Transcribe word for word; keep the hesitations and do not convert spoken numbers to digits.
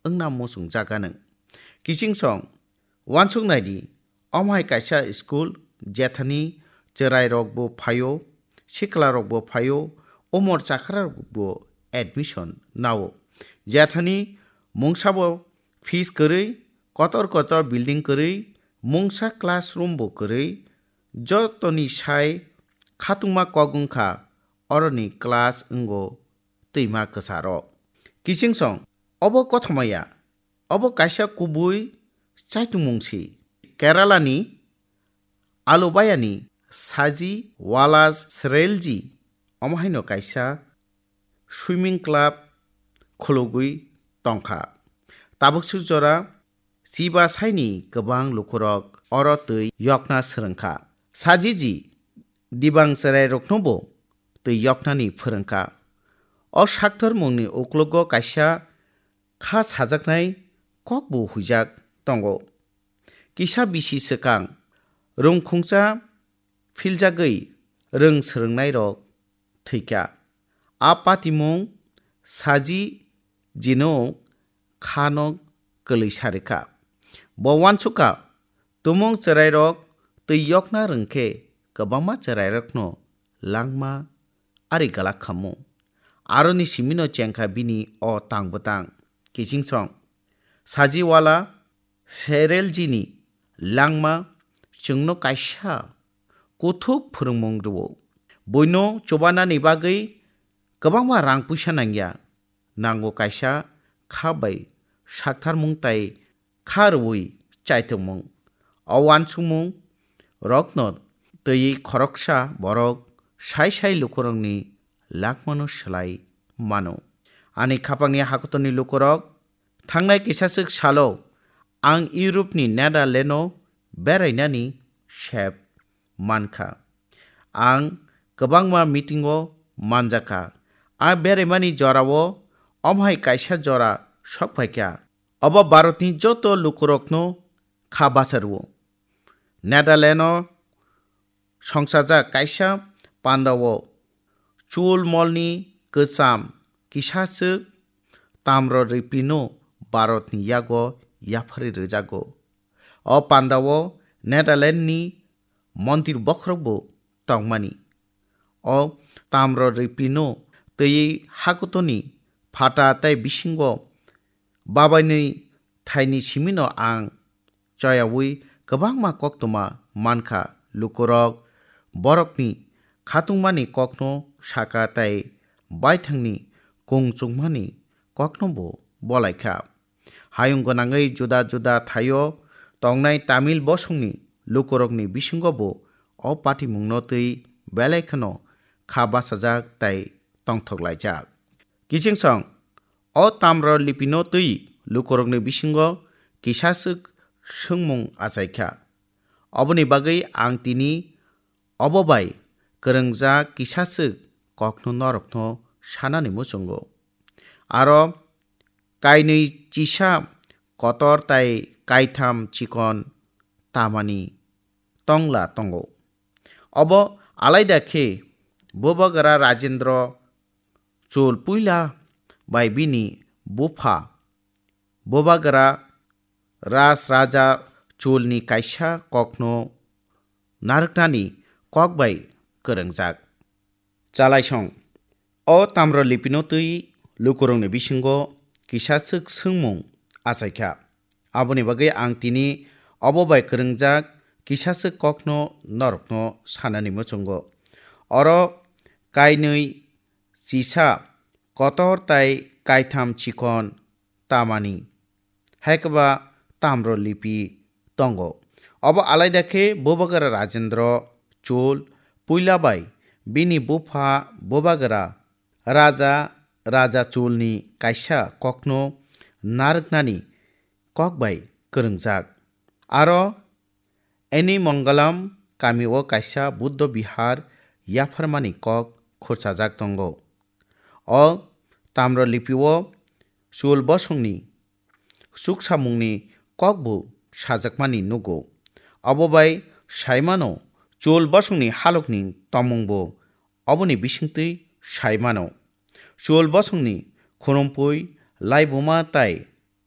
wngna muchungjak anw. Kichingsong, uansuk naidi, omo hai kaisa school, jethani chwrairokbo phaio, siklarokbo phaio, umor chakrarokbo admission nao. Jethani mungsabo fees kwrwi, kotor kotor building kwrwi, mungsa classroom bo kwrwi, jotoni sai khatungma kok wngkha, oroni class wngo twima kwcharo. Kichingsong, obo kothoma ya, obo kaisa kubui chaitungmung si. Kerala ni Alubayani Saji Wala Srelji, omo haino kaisa swimming club khulugwi tongkha. Tabuk swk jora chiba saini kwbang lukurok oro twi yokna swrwngkha. Sajiji dibang chwrairoknobo twi yoknani phwrwngkha. O sakthormungni uklogo kaisa kha sajaknai kokbo huijak tongo. Kisa bisi swkang rwngkhungsa philjagwi rwng swrwngnairok thwikha. A patimung Saji jino khano kwlwi sarikha. Bo uansukha, tumung chwrairok twi yokna rwngkhe kwbangma chwrairokno langma ari galak khamu. Aroni simino chengkha bini o tang bwtang. Kichingsong, Saji Wala Sereljini langma chwngno kaisa kuthuk phwrwngmung rwo. Buino chubanani bagwi kwbangma rang puisa nangya. Nango kaisa kha bai saktharmung tai kha rwui chaitokmung. O uansukmung rokno twiwi khoroksa borok sai sai lukurokni langmano swlai mano. Ani khapangni hakotorni lukurok thangnai kisaswk salo ang Europe ni Netherlands o berainani sep mankha. Ang kwbangma meeting o manjakha. A beraimani jorao omo hai kaisa jora sokphaikha. Obo Bharatni joto lukurokno kha basa rwo. Netherlands o songchajak kaisa pandao chul molni kwcham kisaswk tamro ripino Bharatni yago yapharwi rwjago. O pandao Netherlands ni mondir bokhorokbo tongmani. O tamro ripino twiwi hakutoni phata tei bisingo babainwi thaini simino ang choyaui kwbangma koktwma mankha. Lukurok borokni khatungmani kokno saka tei baithangni kung chukmani koknobo bolaikha. Hayung gwnangwi juda juda thaio tongnai Tamil bosongni lukurokni bisingobo o patimungno twi belai kheno kha bachajak tei tongthok laijak. Kichingsong, o tamro lipino twi lukurokni bisingo kisaswk swngmung achaikha. Oboni bagwi ang tini obo bai kwrwngjak kisaswk kokno norokno sanani muchungo. Aro kainwi chisa kotor tai kaitham chikon tamani tongla tongo. Obo alaida khe Bubagra Rajendra Chol puila bai bini bupha Bubagra Ras Raja Cholni kaisa kokno narwknani kok bai kwrwngjak. Chalaisong. O tamro lipino twi lukurokni bisingo kisaswk swngmung achaikha. Aboni bagwi ang tini obo bai kwrwngjak kisaswk kokno norokno sanani muchungo. Oro kainwi chisa kotor tai kaitham chikon tamani, hai khe ba tamro lipi tongo. Obo alaida khe Bubagra Rajendra Chol puila bai bini bupha Bubagra Raja Raja Cholni kaisa kokno narwknani kok bai kwrwngjak. Aro Eni Mongalam kamio kaisa Buddha Bihar yapharmani kok khurchajak tongo. O tamro lipio Chol bosongni chuksamungni kokbo sajakmani nugo. Obo bai saimano Chol bosongni halokni tongmungbo oboni bisingtwi saimano. Chol bosongni khurumphwi, laibuma tai